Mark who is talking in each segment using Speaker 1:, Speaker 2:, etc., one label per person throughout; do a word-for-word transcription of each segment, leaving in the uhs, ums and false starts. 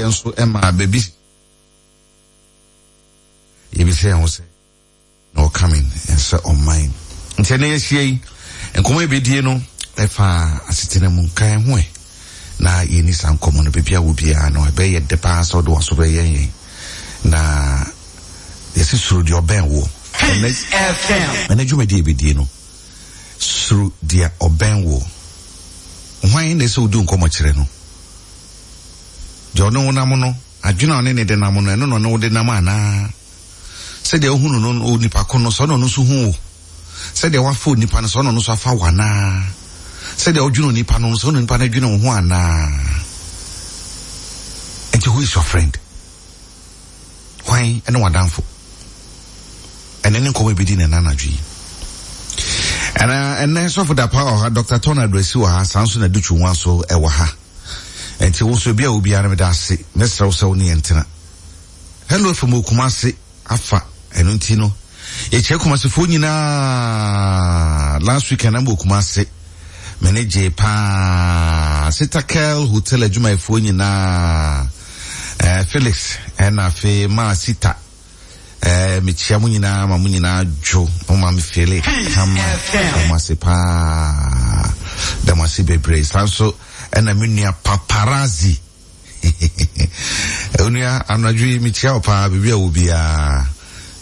Speaker 1: Yɛn nso ɛma baabi yɛbisɛ yɛn ho sɛ na ɔcoming sɛ ɔman. Nti ɛnɛ yɛahyia yi, nkɔmmɔ yɛbɛdie no ɛfa asetena mu nkan ho ɛ na yɛni saa nkɔmmɔ no. Baabi a wɔ biara no, ɛbɛyɛ dɛ paa sɛ wode waso bɛyɛ yɛn na yɛsi suro deɛ ɔbɛn wo. Ɛnɛ dwumadi yɛbɛdie no, suro deɛ ɔbɛn wo. Hwan na ɛsɛ wodi nkɔmmɔ kyerɛ no? Deɛ ɔne wo nam no, adwene a ɔne ne de nam no, ɛno na ɔne wo de nam anaa? Sɛdeɛ wohunu no onipa ko no, sɛ ɔno nso hu wo? Sɛdeɛ wafa onipa no, sɛ ɔno nso afa wo anaa? Sɛdeɛ wodwene onipa no, sɛ ɔno onipa no adwene wo ho anaa? Nti who is your friend? Hwan ɛne w'adamfo? Ɛnɛ ne nkɔmmɔ ebɛdi ne nanadwo yi. Ɛna ɛnɛ sɔfo Dapa wɔ ha, Doctor Tɔn Aduasi wɔ ha, saa nso na Dutwu nwa so ɛwɔ ha. Nti wo nso ebi a obiara no, meda ase. Mɛsrɛ wo sɛ wo ne yɛn tena. Hello F M Kumase afa ɛno nti no yɛkyerɛ Kumasefoɔ nyinaa. Last weekend na mbɔ Kumase, mene gye paa. Sitakel Hotel adwumayɛfoɔ nyinaa, eh, Felix ɛna afei maa Sita, eh, mekyia mo nyinaa ma mo nyinaa dwo mo ma me fele kama. Da mo ase paa, da mo ase bebree. Saa nso ɛna me nua Paparazzi, onua anadwo yi mekyia wo paa. Biribi a wɔ biara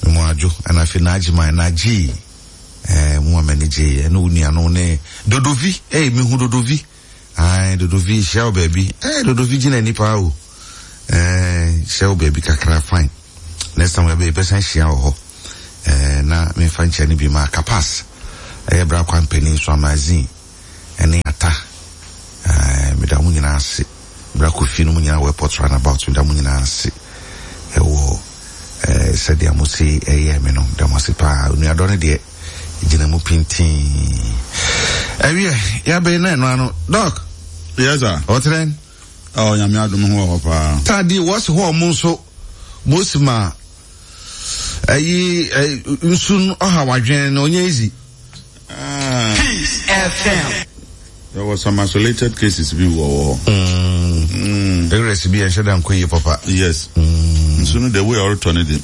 Speaker 1: mo adwo. Ɛna afei naagye ma naagye eh, mo ma m'ani gye. Ɛne wo nua no ne Dodovi. eh, mehu Dodovi. Ai, Dodovi, hyia wo baabi. eh, Dodovi gyina ani paa o. eh, hyia wo baabi kakra. Fine, next time yɛbɛ yɛbɛsan hyia wɔ hɔ. eh, na memfa nkyɛn no bi ma Kapas, ɛyɛ bra kwan panin so amazin ɛne ata. eh, meda mo nyinaa ase. Bra Kofi no mu nyinaa wɔ airport roundabout, meda mo nyinaa ase ɛwɔ eh, sɛdeɛ mo se ɛyɛ me no. Meda mo ase paa. Onuadɔ no deɛ gyina mu pintin. Ɛwiɛ yɛabɛyi na ɛno ano, Doc.
Speaker 2: Yes, sir.
Speaker 1: Ɔtɛn.
Speaker 2: Oh, Nyame adom ho wɔ hɔ paa.
Speaker 1: Taadi wɔsi hɔ, ɔmo nso mosi ma ɛyi ɛ nsu no ɔha wadwene no ɔnyɛ easy.
Speaker 2: Ah,
Speaker 3: Peace F M.
Speaker 2: There was some isolated cases bi wɔ hɔ. Mm.
Speaker 1: Areas bi yɛnhyɛ da nkɔ yie papa.
Speaker 2: Yes. Nsu no, the way ɔretɔ no de,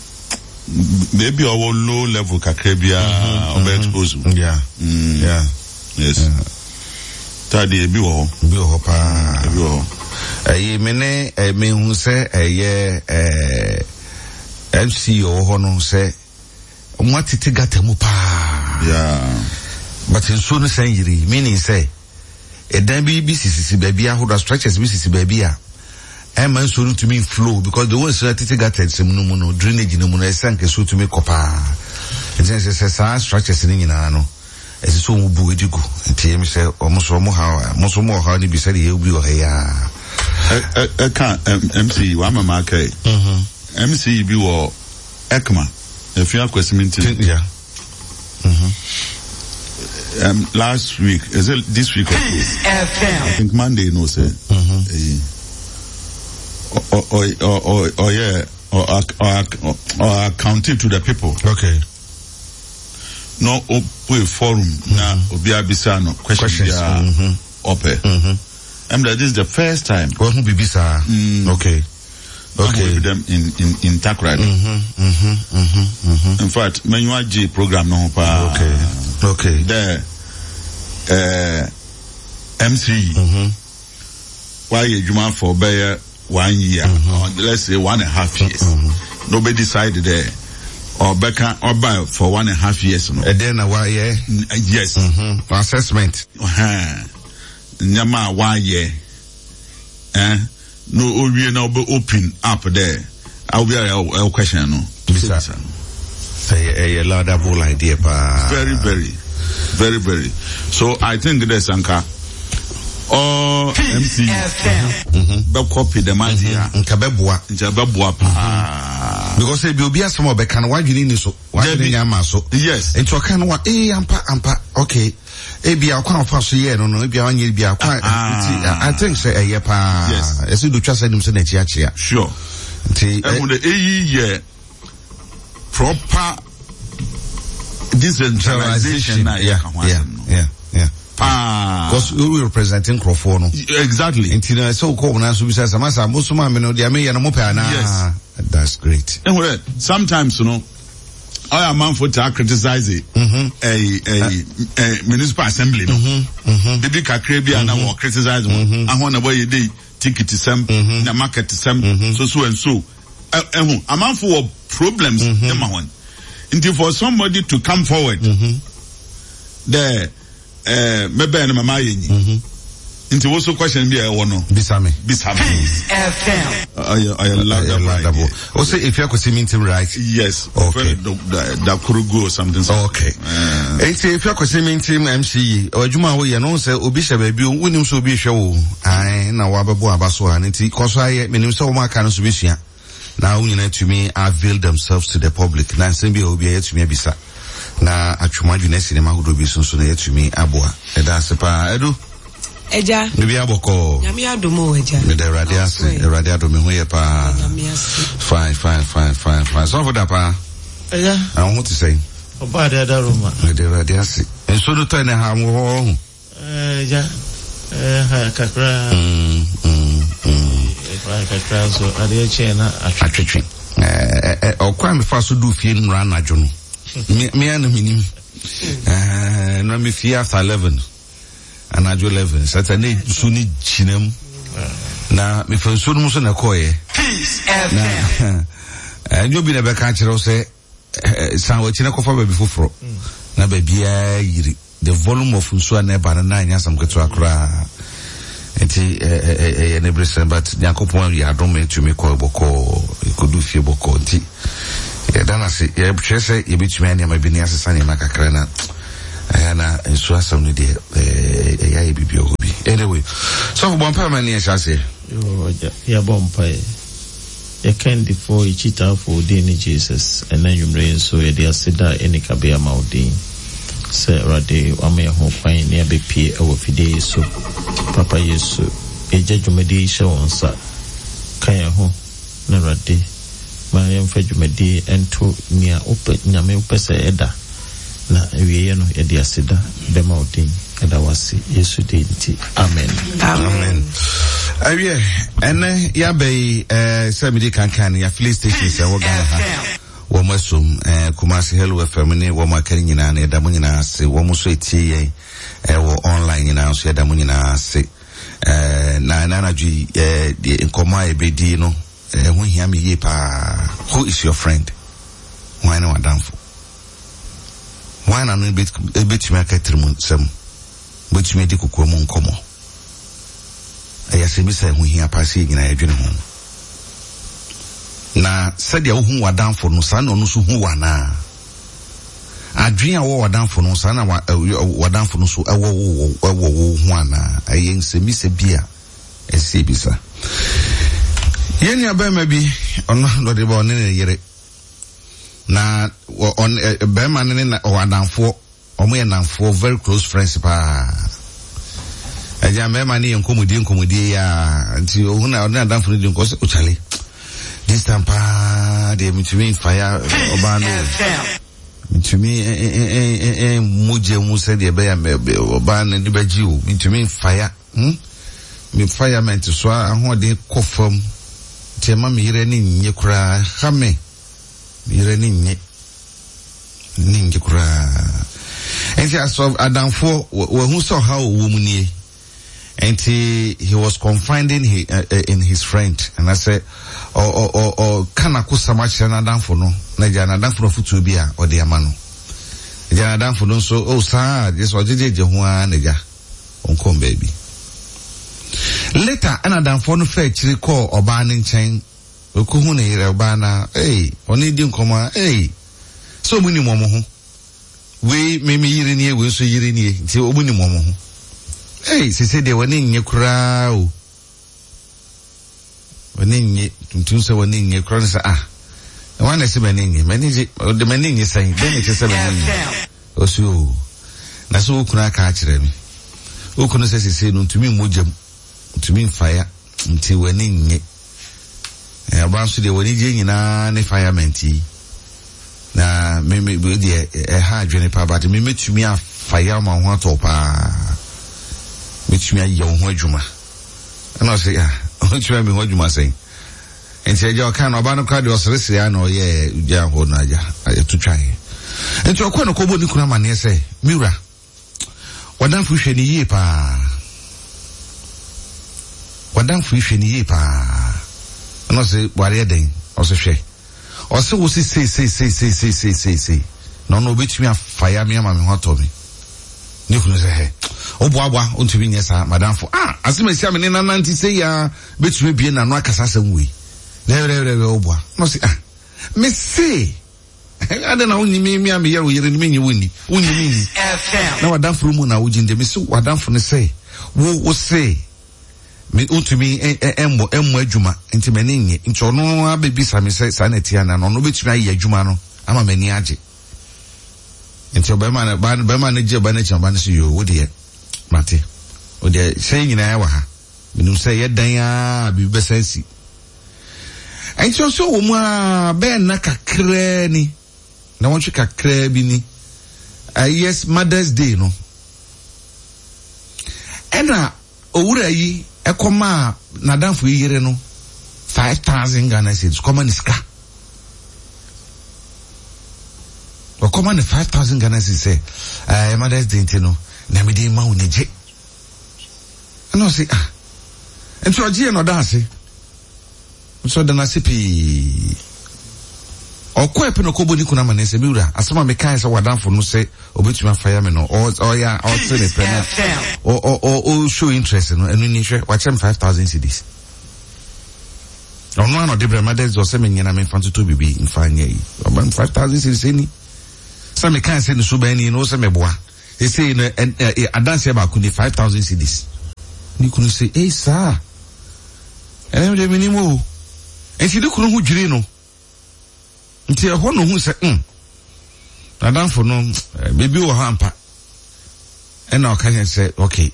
Speaker 2: beebi a ɔwɔ low level kakra biara ɔbɛ expose.
Speaker 1: Yeah.
Speaker 2: Mm.
Speaker 1: Yeah.
Speaker 2: Yes. Taadi ebi wɔ hɔ.
Speaker 1: Bi wɔ hɔ paa.
Speaker 2: Ebi wɔ hɔ.
Speaker 1: Ɛyi me ne ɛ mehu sɛ ɛyɛ ɛɛ M C ɔwɔ hɔ no sɛ ɔmo atete gutter mu paa.
Speaker 2: Yeah.
Speaker 1: But nsuo no sɛn yiri, meaning sɛ ɛdan bi bi sisisi baabi ahodoɔ, structures bi sisi baabi a ɛma nsuo no tumi flow, because the way nsuo no atete gutter nsɛm no mu no, drainage no mu no, ɛsɛ nka nsuo tumi kɔ paa. Nti ɛsɛ sɛ saa structures no nyinaa no, ɛsɛ sɛ ɔmo bu edi gu. Nti ɛmi sɛ ɔmo so ɔmo ha, ɔmo so ɔmo wɔ ha no bi sɛdeɛ yɛ bi wɔ ha yi aa.
Speaker 2: Ɛ ɛ ɛka M C wama ma aka yi. M C bi wɔ Ekma Efi Akwasiminti.
Speaker 1: Yeah.
Speaker 2: Um, last week, is it this week or so?
Speaker 3: Peace F M.
Speaker 2: I think Monday no say. Mm-hmm. Or or or or yeah, or or or accounting to the people.
Speaker 1: Okay.
Speaker 2: No, open forum na obi abisa no question.
Speaker 1: Questions.
Speaker 2: Bia
Speaker 1: Mhm.
Speaker 2: ɔpɛ. And that this is the first time.
Speaker 1: Wɔn ho bibi saa. Okay. Okay.
Speaker 2: With them in in in Takoradi.
Speaker 1: Mhm. Mhm. Mhm. Mhm.
Speaker 2: In fact, menua gye program no ho paa.
Speaker 1: Okay. Okay.
Speaker 2: There, uh, M C.
Speaker 1: Mhm.
Speaker 2: Wayɛ adwuma for bɛyɛ one year, or let's say one and a half years. Nobody decide there. Ɔbɛka ɔba for one and a half years no.
Speaker 1: Ɛdɛn na wayɛ?
Speaker 2: N- Yes.
Speaker 1: Mhm. Assessment.
Speaker 2: Ɛhɛn. Nneɛma a wayɛ. Eh? No, owie na ɔbɛ open up there. Awo bi a ɛwɔ question no.
Speaker 1: Bisa. Ɛyɛ ɛyɛ laudable idea paa.
Speaker 2: Very, very, very, very. So I think there's anka all
Speaker 3: Peace
Speaker 2: M C
Speaker 3: F M.
Speaker 2: bɛ copy them idea.
Speaker 1: Nka bɛboa.
Speaker 2: Nkyɛn bɛboa paa.
Speaker 1: Because ebi obi asɛm a ɔbɛka no, wadwene ni so. Wadwene
Speaker 2: Dabi.
Speaker 1: nya ama so.
Speaker 2: Yes.
Speaker 1: Nti ɔka no wa ee ampa ampa, okay. Ebi akwan afa so yɛ no no ebi anyɛ bi akwan.
Speaker 2: Ah.
Speaker 1: Nti I think sɛ ɛyɛ paa.
Speaker 2: Yes.
Speaker 1: Ɛsɛ do twa sɛ nim sɛ n'akyi akyea.
Speaker 2: Sure.
Speaker 1: Nti
Speaker 2: Ɛhu de eyi yɛ proper decentralization na
Speaker 1: yeah
Speaker 2: yɛ ka ho
Speaker 1: yeah
Speaker 2: asɛm no.
Speaker 1: yeah yeah.
Speaker 2: Paa.
Speaker 1: Because we represent nkurɔfoɔ no.
Speaker 2: Exactly.
Speaker 1: Nti na sɛ wokɔ wɔn nan so bisa sɛ, masa mo soma mi no deɛ meyɛ no mo pɛ anaa?
Speaker 2: Yes.
Speaker 1: That's great.
Speaker 2: Ehu dɛ sometimes no, ɔyɛ amanfo taa criticize ɛyi ɛyi ɛ municipal assembly no. Bibi kakra bi a na wɔ criticize wɔn. Ahɔn na wɔyɛ de ticket sɛm na market sɛm, so so and so. Ɛ ɛhu amanfo wɔ problems ɛma wɔn. Nti for somebody to come forward, dɛ ɛɛ mɛbɛn no mama ayɛ nyi. Nti woso question bi a ɛwɔ no.
Speaker 1: Bisa me.
Speaker 2: Bisa me.
Speaker 3: F M.
Speaker 2: Ɔyɛ ɔyɛ laudable idea.
Speaker 1: O sɛ efi akwasi mi ntim, right?
Speaker 2: Yes.
Speaker 1: Okay.
Speaker 2: Dakurugu or something.
Speaker 1: Okay. Eti efi akwasi mi ntim M C E. Adwuma a woyɛ no, sɛ obi hyɛ baabi o, wonim sɛ obi hwɛ wo. Ae, na wabɛbɔ aba so a, nti kɔ so ayɛ. Menim sɛ wɔn aka no so bɛsua. Na wɔn nyinaa tumi avail themselves to the public. Na nsɛm bi a obi a yɛtumi abisa. Na atwom adwene asi nneɛma ahodoɔ bi so nso na yɛtumi aboa. Ɛda ase paa. Edu.
Speaker 4: Agya.
Speaker 1: Bibi abɔkɔ.
Speaker 4: Nyame adom o, agya.
Speaker 1: Meda Awurade ase. Awurade adom, me ho yɛ paa.
Speaker 4: Nyame ase.
Speaker 1: Fine, fine, fine, fine, fine. Sɔfo da paa.
Speaker 5: Agya.
Speaker 1: Na wo ho te sɛn?
Speaker 5: Ɔbaa de ada Roma.
Speaker 1: Meda Awurade ase. Nsuo no tɔ ne ha mo hɔ ho.
Speaker 5: Agya, ha kakra.
Speaker 1: Mm, mm, mm.
Speaker 5: Ha kakra nso adeɛ kyɛn na atwe.
Speaker 1: Atwetwe. Ɛɛ ɔkwan mi fa so du fie nnura anadwo no. Me me ana mi nim. Ɛɛ na mi fie after eleven. Anadwo eleven. Sata ne nsuo ne gyina mu. Na mefa nsuo no mu so na ɛkɔɔyɛ.
Speaker 3: Peace
Speaker 1: Na
Speaker 3: F M.
Speaker 1: ɛnyɛ obi na ɛbɛka akyerɛ wo sɛ san w'akyi na kɔfa baabi foforɔ na baabiara yiri. The volume of nsuo a na ɛba no na ɛnyɛ asɛm ketewa koraa, nti ɛyɛ ne bere sɛn, but Nyankopɔn yɛ adom, ɛtumi kɔ bɔkɔɔ, ɛkɔdu fie bɔkɔɔ, nti yɛda no ase. Yɛhwɛ sɛ yɛbɛtumi ayɛ nneɛma bi ne asesa nneɛma kakra na ɛyɛ na nsuo asɛm no deɛ, ɛyɛ ayɛ biribi wɔ hɔ bi. Anyway, sɔfo, bɔ mpae ma ne yɛhyɛ aseɛ.
Speaker 5: Yoo, agya, yɛbɔ mpaeɛ. Yɛkandifoɔ, yɛkyitaafoɔ, wo din ne Jesus. Ɛnɛ anwummerɛ yi nso yɛde aseda a ɛni kabea ma wo din sɛ Awurade wama yɛn ho kwan ne yɛabɛpie ɛwɔ fidie yi so. Papa Yesu, yɛgya dwumadie yi hyɛ wo nsa. Ka yɛn ho na Awurade ma yɛmfa dwumadie nto nea wopɛ, Nyame wopɛ sɛ ɛda na awieeɛ no yɛde aseda bɛma wo din. Ɛda wase Yesu din nti, amen.
Speaker 1: Amen. Awiɛ, ɛnɛ yɛaba yi, ɛɛ sɛ mede kankan no, yɛafilling stations ɛwɔ Ghana ha wɔn asom ɛɛ Kumasi Hello F M ne wɔn aka no nyinaa no, yɛda mo nyinaa ase. Wɔn nso etie yɛn ɛwɔ online nyinaa nso, yɛda mo nyinaa ase. ɛɛ na ɛna anadwo yi, ɛɛ deɛ nkɔmɔ a yɛbɛdi no ɛho hia mi yie paa. Who is your friend? Hwan ne w'adamfo? Hwan na no ebetumi aka tirim nsɛm, betumi adi kokoa mu nkɔmɔ? Ɛyɛ asɛm bi sɛ ɛho hia paa sɛ yɛn nyinaa yɛdwene ho. Na sɛdeɛ wohu w'adamfo no, saa na ɔno nso hu w'anaa? Adwene a wɔwɔ w'adamfo no, saa na w'adamfo no nso ɛwɔ wo ɛwɔ wo ho anaa? Ɛyɛ nsɛmmisa bi a ɛsɛ ebisa. Yɛn nua bɛrima bi, ɔno ɔde ba, ɔne ne yere na ɔn bɛrima no ne na ɔwɔ adamfoɔ. Wɔn yɛ namfoɔ, very close friends paa. Ɛgya mmarima ne yɛ nkɔmɔdie nkɔmɔdie yi a, nti ohun na ɔne adamfo no di nkɔ sɛ, "Ɔkyale, this time paa deɛ, mitumi nfa ya ɔbaa no, mitumi mogya mu sɛdeɛ ɛbɛyɛ ɔbaa no de bɛgye o, mitumi nfa ya hmm me firement so ahoɔden kɔ fam, nti ɛma me yere ani nye koraa ha, me me yere ani nye ne nye koraa." Nti asɔ adamfoɔ wɔhu sɛ ɔha wɔ mu nie, nti he was confiding he, uh, uh, in his friend, anaasɛ ɔka n'akosam akyerɛ n'adamfo no, na gya n'adamfo no afotuo bi a ɔde ama no. Gya n'adamfo no nso oh saa gye sɛ ɔgyegyegye ho ara na gya ɔnkɔn baabi. Later ɛna adamfoɔ no fɛ akyiri kɔɔ ɔbaa ne nkyɛn, okohu ne yere ɔbaa na ee ɔne di nkɔmɔ a, ee sɛ ɔmo nim wɔn ho, wei me me yere nie, wei nso yere nie, nti ɔmo nim wɔn ho. Ee sese deɛ wɔne nye koraa o, wɔne nye tuntum sɛ wɔne nye koraa no sɛ, ah, wɔn na ɛsɛ m'ani nye, m'ani gye, ɔde m'ani nye sɛn dɛn na ɛkyɛ sɛ m'ani nye? Ɔsi o, na sɛ okunu aka akyerɛ me, okunu sɛ sese no ntumi mmɔ gyam, ntumi nfaya, nti wɔne nye. Ɔbaa nso deɛ, wɔne gye nyinaa ne firement yi na me me deɛ ɛha adwene paa, but me metumi afaya ma ho atɔ paa. Mɛtumi ayɛ wo ho adwuma. Ɛna ɔse, ah, ɔtumi ayɛ me ho adwuma sɛn? Nti agya ɔka no, ɔbaa no koraa deɛ ɔseresere a na ɔyɛ gya hɔ no agya, ɛto twaeɛ. Nti ɔkɔɔ no kɔbɔ ne kunu amanneɛ sɛ, me wura, wadamfo hwɛ ne yie paa. Wadamfo hwɛ ne yie paa. Ɛna ɔse, wareɛ dɛn? Ɔse hwɛ. Ɔse wo se sei sei sei sei sei sei sei sei. Na ɔno obɛtumi afa ya me ama me ho atɔ me. Ne kunu sɛ hɛ, woboaboa, wontumi nyɛ saa, madamfo. Ah, asɛm asi a me ne nanante sei ya bɛtumi abie n'ano akasa asɛm wei. Dɛbrɛbrɛbrɛ woboa. Na ɔse, ah, me se, ade na wonyi me me a meyɛ wo yere no menyi wo nni. Wonyi me nni. Na wadamfo no mu na wogye nde. Me se wadamfo no sɛ, wo wo se, me wontumi mmɔ mmɔ adwuma nti m'ani nnye. Nti ɔno abɛbisa me sɛ saa na ɛte anaa, na ɔno bɛtumi ayɛ adwuma no ama m'ani agye. Nti ɔbɛma no ba bɛma no gye ɔba no akyi, ɔba no sɛ yoo, wo deɛ mate, wo deɛ sɛ nyinaa wɔ ha, menim sɛ yɛ dan a biribi bɛsan si. Nti ɔsɛ wɔ mu a bɛyɛ nna kakraa ni, na wɔntwe kakraa bi ni, uh, yes, Mother's Day no, ɛna owura yi ɛkɔmaa n'adamfo yi yere no five thousand Ghana cedis, kɔma ne sika. Ɔkɔma ne five thousand Ghana cedis sɛ ɛɛ Mother's Day nti no na mi de ma wo ne gye. Ɛna ɔsi ah, nti ɔgye yɛ na ɔda ase, nso ɔda n'ase pii. Ɔkɔ ɛpɛ na ɔkɔbɔ ne kunu ama ne sɛ, mi wura, asɛm a mekae sɛ wadamfo no sɛ obetumi afa ya me no, ɔyɛ ɔte ne pɛ na ɔ ɔ ɔ show interest no, ɛno ni hwɛ, wakyɛ me five thousand cedis. Ɔno ano de brɛ Mother's Day ɔsɛ me nyina me nfa ntoto bibi nfa nyɛ yi, ɔba me five thousand cedis ni. Sɛ mekae sɛ ne so bɛn ni no sɛ meboa. Ɛsei no ɛ adanseɛ baako ni five thousand cedis. Ne kunu sɛ, ei saa, ɛnɛ deɛ menim o. Nti ne kunu ho dwiri no. Nti ɛhɔ no hu sɛ, mm, n'adamfo no, biribi wɔ hɔ ampa. Ɛna ɔka kyerɛ sɛ, okay,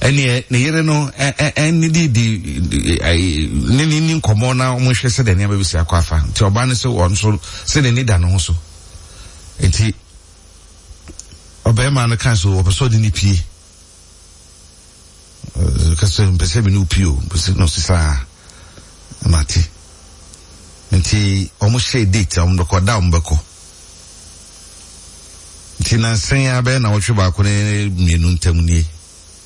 Speaker 1: ɛneɛ ne yere no ɛne di di ne ne ni nkɔmmɔ na wɔhwɛ sɛ deɛ nneɛma bɛsi akɔ afa. Nti ɔbaa no sɛ ɔno nso sɛ n'ani da ne ho so. Nti ɔbɛrima no ka so ɔpɛ sɛ ɔde ne pie. Ka sɛ mpɛ sɛ me ne wo pie o, mpɛ sɛ na ɔsi saa mate. Nti ɔmo hyɛ date a ɔmo bɛkɔ, da a ɔmo bɛkɔ. Nti nansan a bɛyɛ na wɔtwe baako ne mmienu ntam nie.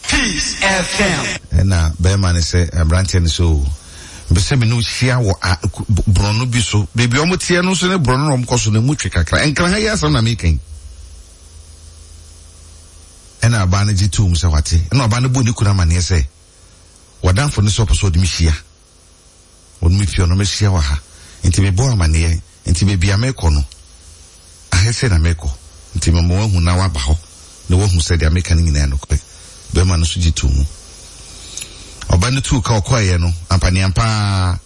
Speaker 3: Peace F M.
Speaker 1: Ɛna bɛrima no sɛ aberanteɛ no sɛ o, mpɛ sɛ me ne wo hyia wɔ borɔno bi so. Baabi a ɔmo teɛ no nso ne borɔno na ɔmo kɔ so no emu twe kakra. Nkran ha yi asɛm na meka yi. Ɛna ɔbaa no gye too mu sɛ wate. Ɛna ɔbaa no bɔ ne kunu amanneɛ sɛ wɔdamfo no sɛ ɔpɛ sɛ ɔde me hyia. Ɔde me pie, ɔno mehyia wɔ ha. Nti mebɔ amanneɛ. Nti baabi a mekɔ no, ahɛ sɛ na mekɔ. Nti mema wahu na waba hɔ. Na wahu sɛ deɛ meka no nyinaa nokorɛ. Bɛrima no nso gye too mu. Ɔbaa no tuu ka ɔkɔeɛ no, ampaneampa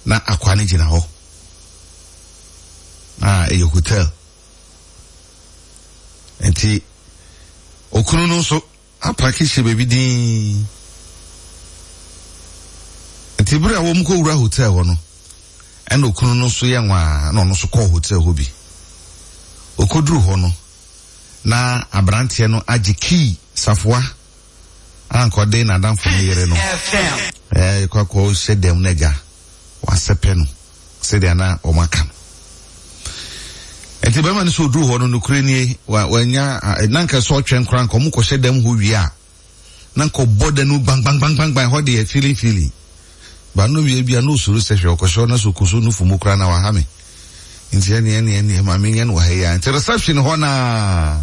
Speaker 1: na akwaa no gyina hɔ. A ɛyɛ hotel. Nti okunu no nso apaki hyɛ baabi din. Nti bere a wɔn kɔ wura hotel hɔ no, ɛna okunu no nso yɛ nwaa na ɔno nso kɔɔ hotel hɔ bi. Okoduru hɔ no, na aberanteɛ no agye key safoa a nka ɔde n'adamfo no yere no. Ɛɛ kɔ akɔ hyɛ dɛm na agya wasɛpɛ no sɛdeɛ na wɔn aka no. Nti bɛrima no sɛ oduru hɔ no nokure nie, wanya na nka sɛ ɔtwɛn koraa nka ɔmo kɔhyɛ dɛm hɔ wie a na nka ɔbɔ da no gbang gbang gbang gbang gbang hɔ deɛ feeling feeling. Ba no wie bia na osuro sɛ hwɛ ɔkɔhyɛ hɔ na sɛ ɔkɔso no fumu koraa na waha me. Nti ɛne ɛne ɛne ma menyɛ no wɔ ha yi a. Nti reception hɔ naa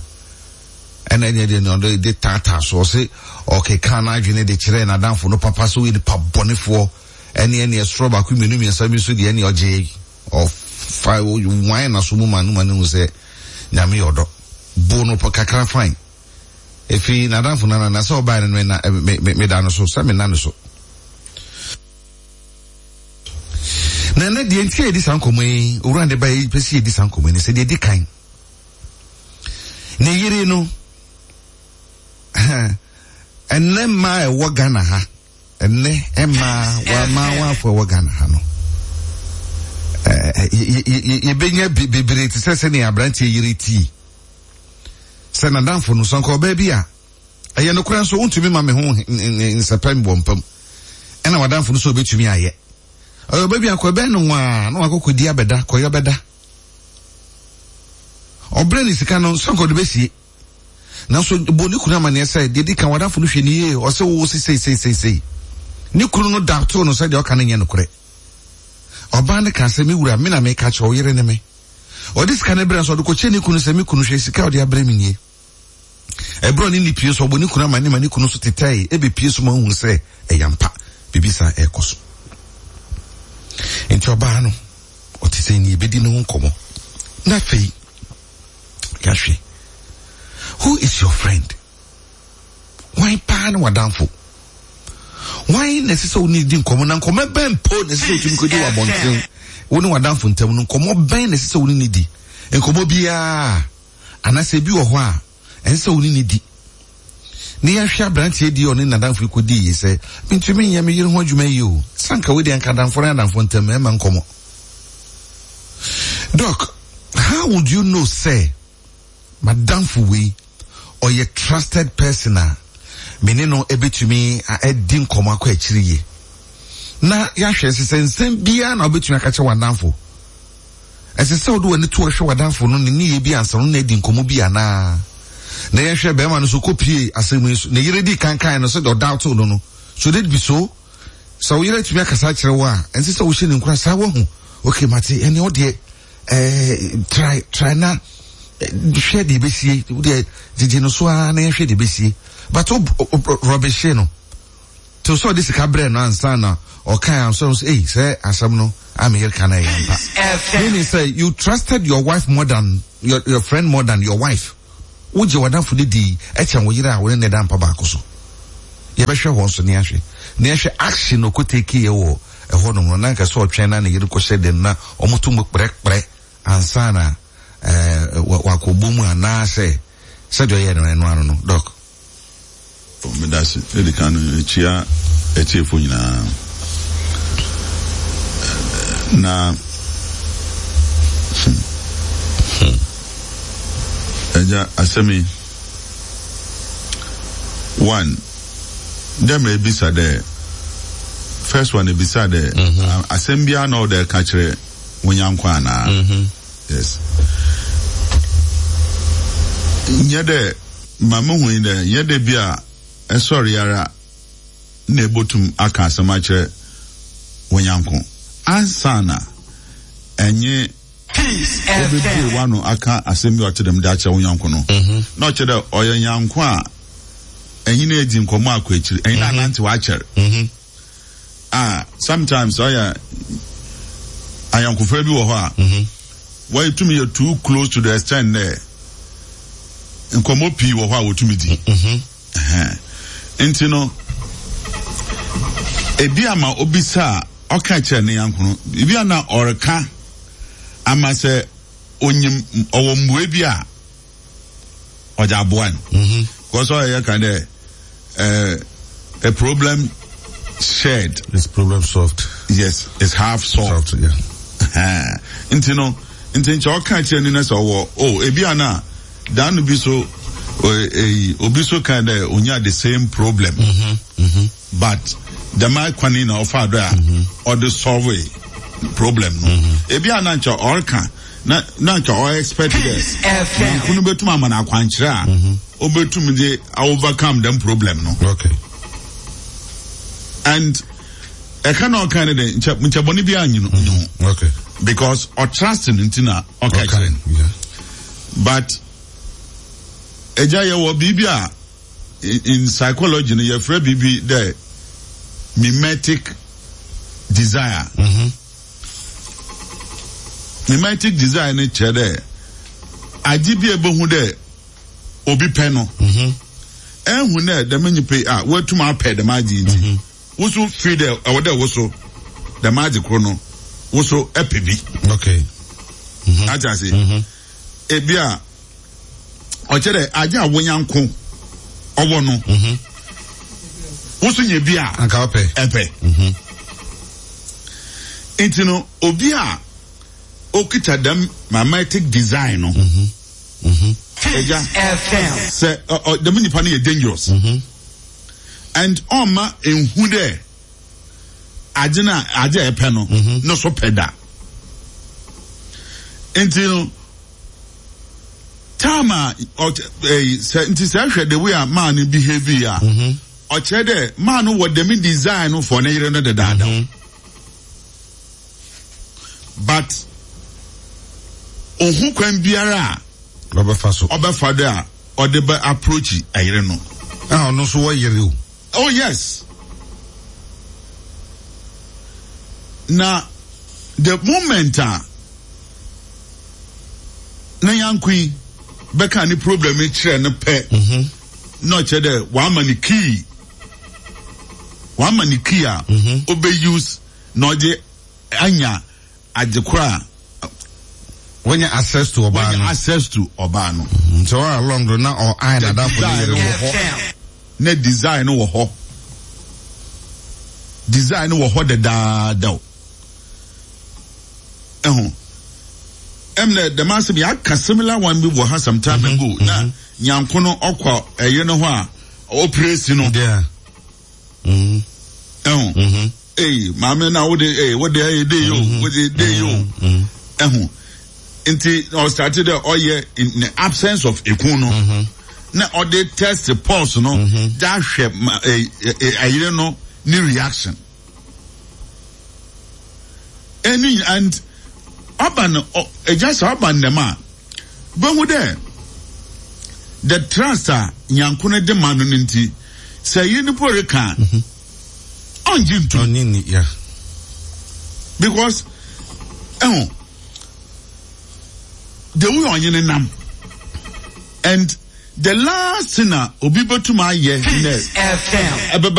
Speaker 1: ɛna ɛnyɛ deɛ ne ɔde de taataa so ɔse ɔkeka n'adwene de kyerɛ n'adamfo no papa sɛ ɔyɛ nipa bɔnefoɔ ɛne ɛne ɛsoro baako mmienu mmiɛnsa bi nso deɛ ɛne ɔgye ɔfa wan na so mu ma no ma no hu sɛ nyame yɛ ɔdɔ bo no kakra fine. Efi n'adamfo no na sɛ ɔbaa no me na me me da no so sɛ me na no so. Na ne deɛ nti a yɛdi saa nkɔmmɔ yi, owura ne ba yi pɛ sɛ yɛdi saa nkɔmmɔ yi ne sɛ deɛ di kan. Ne yere no, ɛnɛ mmaa a ɛwɔ Ghana ha, ɛnɛ mmaa wɔama wɔafo ɛwɔ Ghana ha no, yɛbɛnya bebree te sɛ sɛnea aberanteɛ yere tii. Sɛ n'adamfo no, sɛ nka ɔbaa bi a, Ɛyɛ nokorɛ nso, wontumi ma me ho nsɛpɛ mbɔ mpam. Ɛna w'adamfo no sɛ obɛtumi ayɛ. Ɔyɛ ɔba bi akɔ ɛbɛn no nwaa na wakɔkɔdi abɛda, kɔyɔ bɛda. Ɔbrɛ ne sika no sɛ nkɔde bɛsie. Nanso bɔ ne kunu amanneɛ sɛ deɛ di kan w'adamfo no hwɛ ne yie, ɔsɛ wo se sei sei sei sei. Ne kunu no da too no sɛ deɛ ɔka no nyɛ nokorɛ. Ɔbaa no kaa sɛ, me wura, me na meka kyerɛ wo yere ne me. Ɔde sika no brɛ nso ɔde kɔkyɛ ne kunu sɛ, me kunu hwɛ sika a ɔde abrɛ me nie. Ɛberɛ ɔne ne pie so ɔbɔ ne kunu amanneɛ ma ne kunu nso tetɛe ɛbɛpie so ma ɔhunu sɛ ɛyɛ ampa biribi saa ɛrekɔ so. Nti ɔbaa no ɔte sɛ ni ebedi ne ho nkɔmmɔ. Na afei yɛahwɛ, who is your friend? Hwan paa ne w'adamfo? Hwan na ɛsɛ sɛ wo ne di nkɔmmɔ? Na nkɔmmɔ bɛn mpo na ɛsɛ sɛ wotumi kɔdi wɔ abɔnten? Wo ne w'adamfo ntam no, nkɔmmɔ bɛn na ɛsɛ sɛ wo ne ne di? Nkɔmmɔ biara anaasɛ ebi wɔ hɔ a ɛnsɛ sɛ wo ne ne di? Ne yɛhwɛ aberanteɛ di ɔne n'adamfo yi kɔdi yi sɛ, mentumi nyɛ me yere ho adwuma yi o. Sanka wei deɛ nka adamfo ne adamfo ntam ɛma nkɔmmɔ. Doc, how would you know sɛ madamfo wei ɔyɛ trusted person a me ne no ebetumi adi nkɔmmɔ akɔ akyiri yie? Na yɛahwɛ sɛ sɛ nsɛm biara na wobɛtumi aka kyerɛ w'adamfo. Ɛsɛ sɛ wode w'ani to ɔhwɛ w'adamfo no ne nneyɛe bi ansa no na adi nkɔmmɔ bi anaa? Na yɛhwɛ bɛrima no so kɔpie asɛm yi so. Ne yere di kankan no sɛdeɛ ɔdawtew no no. Should it be so? Sɛ wo yere atumi akasa akyerɛ wo a, ɛnsɛ sɛ wohyɛ ne nkura saa wahu. Okay, mate, ɛne wo deɛ, eh, try, try na hwɛ deɛ ɛbɛsie. Wo deɛ, gyegye no so ara na yɛhwɛ deɛ ɛbɛsie. But wo rɔbehye no. Till sɛ ɔde sika brɛ no ansa na ɔkae ansa no sɛ, ei, sɛ asɛm no a me yere ka no ɛyɛ ampa. Meaning sɛ, you trusted your wife more than, your, your friend more than your wife. Wogye w'adamfo no di ɛkyɛn wo yere a wo ne no da mpa baako so. Yɛbɛhwɛ hɔ nso ne ahwɛ. Ne yɛhwɛ action no ɔkɔtake yɛ wɔ ɛhɔ nom no, na nka sɛ ɔtwɛn na ne yere kɔhyɛ den na ɔmoto mu kprɛkprɛ ansa na eh, wakɔbɔ mu anaasɛ sɛdeɛ ɔyɛ no ɛno ano no, Doc.
Speaker 2: Medase. Edi kan no, mekyia atiefo nyinaa. Na hmm, agya asɛm yi, one, dɛ mmerɛ ebisa dɛ, first one ebisa dɛ, mm-hmm. asɛm biara na ɔwɔ dɛ ɛka kyerɛ wo nyanko anaa? Mm-hmm. Yes. Nyɛ dɛ ma mehu yi dɛ nyɛ dɛ bi a ɛsɔre ara na ebotum aka asɛm akyerɛ wo nyanko ansa na ɛnye obebue w'ano aka asɛm bi a ɔte dɛm de akyerɛ wo nyanko no. Na ɔkyerɛ dɛ ɔyɛ nyanko a ɛnye no edzi nkɔmmɔ akɔ ekyir, ɛnye no anantsew akyɛr. Ah, sometimes ɔyɛ ayɔnkofa bi wɔ hɔ a wɔtumi yɛ too close to the extent dɛ nkɔmmɔ pii wɔ hɔ a wɔtumi di. Nti no, ebi ama obisa a ɔka kyerɛ ne yanko no, ebi a na ɔreka ama sɛ onyim ɔwɔ mmuae bi a ɔdze aboa no. Because ɔyɛ yɛ kan dɛ uh, a problem shared
Speaker 1: is problem solved.
Speaker 2: Yes, it's half solved.
Speaker 1: Solved, yeah.
Speaker 2: Nti no, nti nkyɛ ɔka kyerɛ ni na sɛ ɔwɔ oh ebi a na dan no bi so eh, obi so kan dɛ onya the same problem.
Speaker 1: Mm-hmm, mm-hmm.
Speaker 2: But dɛm akwan yi na ɔfa do a ɔde solve problem no. Ebi a na nkyɛ ɔreka na na nka ɔ expect dɛ nanko no betum ama no akwankyerɛ a obetum de overcome dɛm problem no.
Speaker 1: Okay.
Speaker 2: And ɛka na ɔka ne de nkyɛ nkyɛ bɔne bi anyi no ho.
Speaker 1: Okay.
Speaker 2: Because ɔtrust no nti na ɔka kyerɛ no.
Speaker 1: Yeah.
Speaker 2: But ɛgya yɛ wɔ biribi a in psychology no yɛfrɛ biribi dɛ mimetic desire.
Speaker 1: Mm-hmm.
Speaker 2: Mimetic desire no kyerɛ dɛ adze bi a ebohu dɛ obi pɛ no, ehu dɛ dɛm nyimpa yi a woetum apɛ dɛm adze yi ntsi, wo so feel dɛ ɛwɔ dɛ wo so dɛm adze kor no wo so ɛpɛ bi.
Speaker 1: Okay.
Speaker 2: Ate ase? Ebi a ɔkyerɛ dɛ adze a wo nyanko ɔwɔ no, wo so nya bi a
Speaker 1: Anka wopɛ.
Speaker 2: ɛpɛ. Nti no, obi a okita dɛm mimetic design no, Ɛgya sɛ ɔ dɛm nipa no yɛ dangerous and ɔmma nhu dɛ adze na adze a ɛpɛ no no so pɛ da. Nti no time a ɔ ɛyi sɛ nti sɛ ɛhwɛ the way a maa no behave yi a, ɔkyerɛ dɛ maa no wɔ dɛm design no for ne yere no dedaada, but ohun kwan biara a
Speaker 1: ɔbɛfa so.
Speaker 2: Ɔbɛfa do a ɔde bɛ approach ɛyere no.
Speaker 1: A ɔno nso wɔ yere o.
Speaker 2: Oh yes, na the moment a na yanko yi bɛka ne problem yi kyerɛ no pɛ, na ɔkyerɛ dɛ wama ne key wama ne key a ɔbɛ use na ɔde anya adze koro a
Speaker 1: wɔnya access to ɔbaa
Speaker 2: wɔnya
Speaker 1: no.
Speaker 2: Access to ɔbaa no.
Speaker 1: Nti all along do na ɔ ayi n'adafo ne yere
Speaker 2: wɔ
Speaker 1: wɔ
Speaker 2: hɔ, na design no wɔ hɔ, design no wɔ hɔ dedaada o. Ɛho ɛm na dɛm asɛm yɛ aka similar one bi wɔ ha some time ago, na nyanko no ɔkɔ ɛyɛ no hɔ a ɔpere no.
Speaker 1: Yeah. Mm.
Speaker 2: Ɛho
Speaker 1: Mm-hmm.
Speaker 2: ee, maame, na wode ee wode ɛyɛ de yi o, wode de yi o. Ɛho nti ɔstart dɛ ɔyɛ in the absence of ekun no, na ɔde test pulse no de ahwɛ ma ee ee ɛyere no ne reaction ɛni. And ɔba no ɔ ɛgya sɛ ɔba ndɛm a bɛhu dɛ the trust a nyanko no de ma no no nti sɛ ɛyere no po reka a, ɔngye ntum.
Speaker 1: Ɔnye ni ya.
Speaker 2: Because ɛho the way ɔnye ne nam and the last thing a obi bɛtum ayɛ nɛ ɛbɛba.